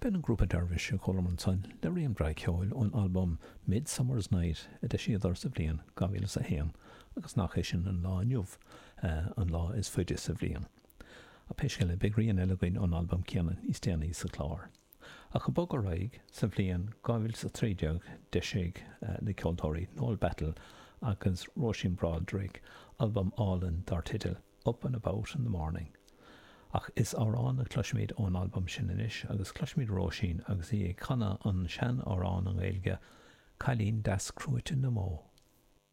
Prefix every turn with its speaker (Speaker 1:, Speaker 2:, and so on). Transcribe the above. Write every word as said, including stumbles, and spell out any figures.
Speaker 1: B'in an grúpa Dervish a chualamar ansan le rian breá ceoil ón albam Midsummer's Night a d'eisíodar sa bhliain dhá mhíle is a haon agus nach é sin an lá inniu an lá is faide sa bhliain. Ach pé scéal é, beidh rian eile againn ón albam céanna níos déanaí sa chlár. Ach ag bogadh ar aghaidh, sa bhliain dhá mhíle is a trí déag d'eisigh na ceoltóirí Noel Battle agus Róisín Broderick albam álainn dar teideal Up and About in the Morning. Ach is amhrán a chloisfimid ón albam sin anois agus cloisfimid Róisín agus í ag canadh an sean-amhrán i nGaeilge, Cailín Deas Crúite na mBó.